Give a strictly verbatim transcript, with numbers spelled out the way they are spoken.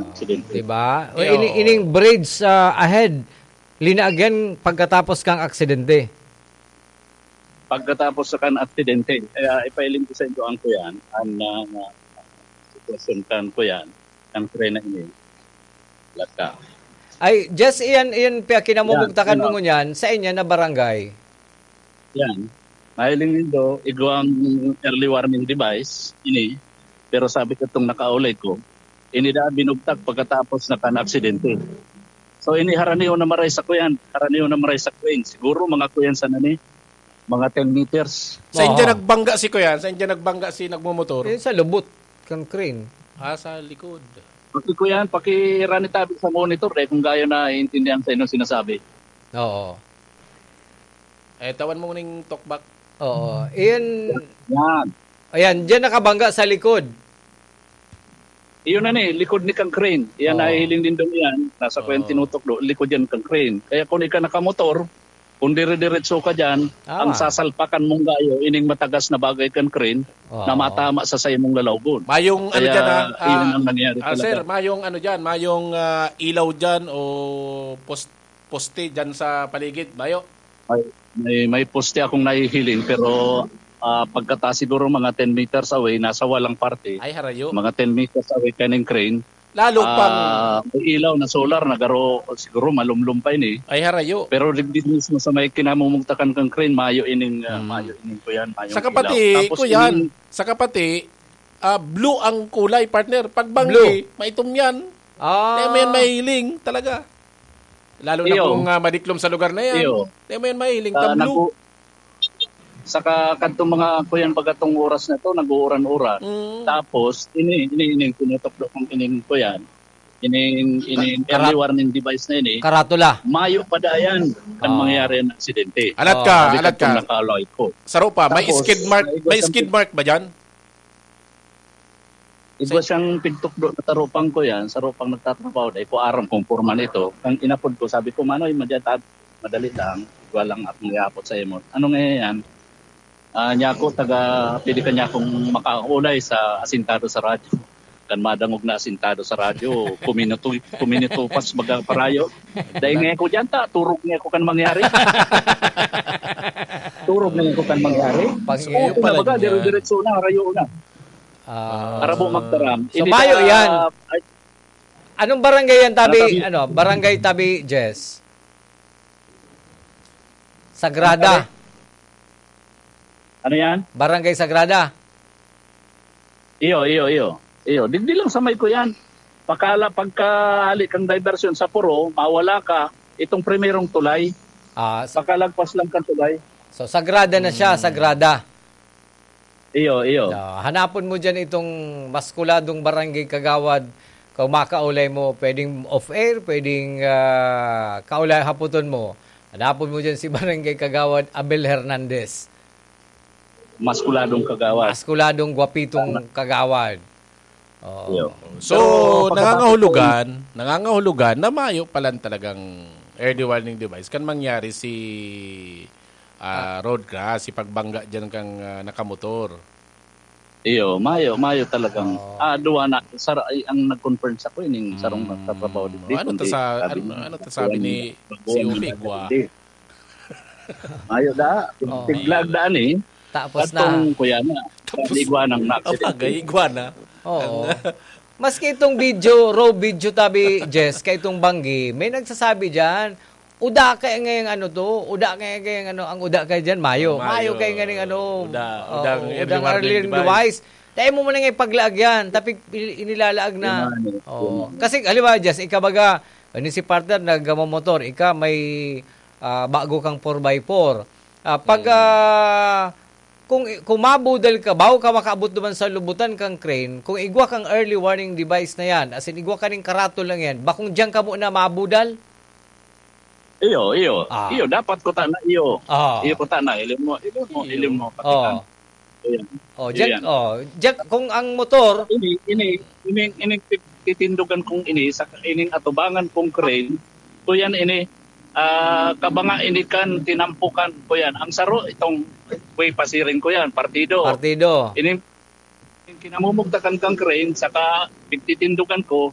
aksidente. Diba? O, Yo. ini-, ining bridge, ah, ahead, linaag yan pagkatapos kang aksidente. Pagkatapos sa kan aksidente, kaya ipailing ko sa inyo ang kuyan, ang, ah, sitwasyon kan kuyan, ang tren na ini. Laka. Ay, just iyan, iyan, Pia, kinamumugtakan Yan, mo yan. ngunyan, sa inya na barangay. Yan. Mahiling nindo, igwang early warning device, ini. Pero sabi ko itong nakaulay ko, ini da binugtak pagkatapos na kan aksidente. So, ini haraniyo na maray sa kuyan, haraniyo na maray sa kuyan. Siguro mga kuyan sa nani, mga ten meters. Sa inyo Oho. nagbangga si kuyan? Sa inyo nagbangga si nagmumotor? Yun sa lubot, kang crane. Ah, sa likod. Paki kuyan, pakirani tabi sa monitor, eh, kung gayo na iintindihan sa inyo sinasabi. Oo. Eh, tawan mo ning talkback. Oo. Iyan, Yan. ayan, diyan nakabangga sa likod. Iyon na ni, likod ni kang crane. Iyan Oo. nahihiling din daw yan. Nasa Oo. kuyan tinutukdo, likod yan kang crane. Kaya kung ika nakamotor, kung dire-diretso ka dyan, Tama. ang sasalpakan mong gayo, ining matagas na bagay kang crane, Oo. na matama sa saimong lalawgon. Mayong ano Kaya, dyan, ah, iyon ah, ang nangyari ah, talaga. sir, mayong ano dyan, mayong, ah, ilaw dyan o post-, poste dyan sa paligid, mayo? May, may, may poste akong nahihiling, pero, ah, pagkataas siguro mga ten meters away, nasa walang parte. Ay, harayo. Mga ten meters away kaning crane. Lalo pang Ah, may ilaw na solar na garo, siguro malumlom pa ini. Ay, harayo. Pero digdi mismo sa may kinamumugtakan kang crane, mayo ining, ah, Hmm. mayo ining kuyan, mayong Saka ilaw. pati, Tapos kuyan, ining saka pati, ah, blue ang kulay, partner. Pag banggi, Blue. maitom yan. Ah. Kaya may mahiling talaga. Lalo na Iyo. kung, ah, madiklom sa lugar na yan. Iyo. Kaya may mahiling, Ah, ta blue. nagku-, saka kadtong mga kuyan baga tong oras na to, nag-uuran-uran. Mm. Tapos, ini, ini, ini, tinutukdo kong ining kuyan. Ining, ining Ka-, early karat-, warning device na ini. karatula. Mayo pa da yan kan Ah. mangyari ang aksidente. Alat ka, Sabi alat kadtong ka. nakaloy ko. Saro pa, may Tapos, skid mark, may may isang skid mark ba dyan? Igwa Sa siyang pigtukdo na tarupang ko yan, sarupang nagtatrabaho, dai ko aram kung porma nito. Ang inapod ko, sabi ko, "Manoy, madya ta-, madali lang, igwa lang akong iapod sa imo." "Ano nga yan?" Ah, niya ako, taga, pwede ka niya akong makaulay sa asintado sa radyo. Kan madangog na asintado sa radyo, kuminuto-, kuminutupas baga parayo. Dai nga ako dyan, ta, turog nga ako kan mangyari. Turog nga ako kan mangyari. Pag So, iyo okay na pala baga, niya. dire-diretso na, harayo na. Ah. Arabo magtaram. So, Ini mayo ta-, yan. ay, Anong barangay yan, Tabi? Ano, Tabi? Ano, barangay Tabi, Jess? Sagrada. Ano, Tabi? Ano yan? Barangay Sagrada. Iyo, iyo, iyo. Iyo, digdi lang sa may ko yan. Pakala, pagkahali kang diversion sa Puro, mawala ka, itong primerong tulay. Ah, sa Pakalagpas lang kang tulay. So, Sagrada na siya, Hmm. Sagrada. Iyo, iyo. Ah, hanapon mo dyan itong maskuladong barangay kagawad. Kung makaulay mo, pwedeng off-air, pwedeng, ah, kaulay haputon mo. Hanapon mo dyan si Barangay Kagawad Abel Hernandez. Maskuladong kagawad. Maskuladong, gwapitong Tama. kagawad. Oo. Iyo. So, Pero pagkatapos nangangahulugan, nangangahulugan na mayo palan talagang early warning device kan mangyari si, ah, Ah. road crash, si pagbangga dyan kang, ah, nakamotor. Iyo, mayo, mayo talagang, Oo. ah, duwa na, sar-, ay, ang nag-confirm sa ko, ining sarong Mm. nagtatrabaho digdi, Ano to kundi sa, sabi ano, niya, ano to sabi ni kuwan, C O P, kuwan, gwa? hindi. Mayo da, Oo. tiglag da ni. Tapos Katong na. kuya na, Tapos, iguana ang naaksidente. Abagay, iguana. Oo. Ang Maski itong video, raw video tabi, Jess, kay itong banggi, may nagsasabi dyan, "Uda kaya ngayong ano to, uda kaya ngayong ano, ang uda kaya dyan, mayo." Oh, mayo. Mayo kaya ngayong ano, Uda, oh, udang early udang warning early device. device. Dahil mo muna nga ipaglaag yan, tapi il-, inilalaag na. Yun nga, yun Oo. nga. Kasi, halimbawa, Jess, ikaw baga, ano si partner, nagmamotor, ika may, ah, bago kang four by four. Ah, pag, Mm. ah, kung, kung mabudal ka, bago ka makaabot naman sa lubutan kang crane, kung igwa kang early warning device na yan, as in, igwa ka ning karatol lang yan, bakong diyan ka muna mabudal? Iyo, iyo. Ah. Iyo, dapat ko tana, iyo. Ah. Iyo ko tana, ilim mo, ilim mo, Iyo. ilim mo, pati Oo. kan. Ayan. Oh, Iyo Jack, yan. oh, Jack, kung ang motor Ini, ini, ini, ini, titindugan kong ini, sa ining atubangan kong crane, kuyan ini, ah, kabanga ini kan tinampukan ko yan. Ang saro, itong way pasiring ko yan, partido. Partido. Ini, yung kinamumugtakan kang crane, saka pigtitindugan ko,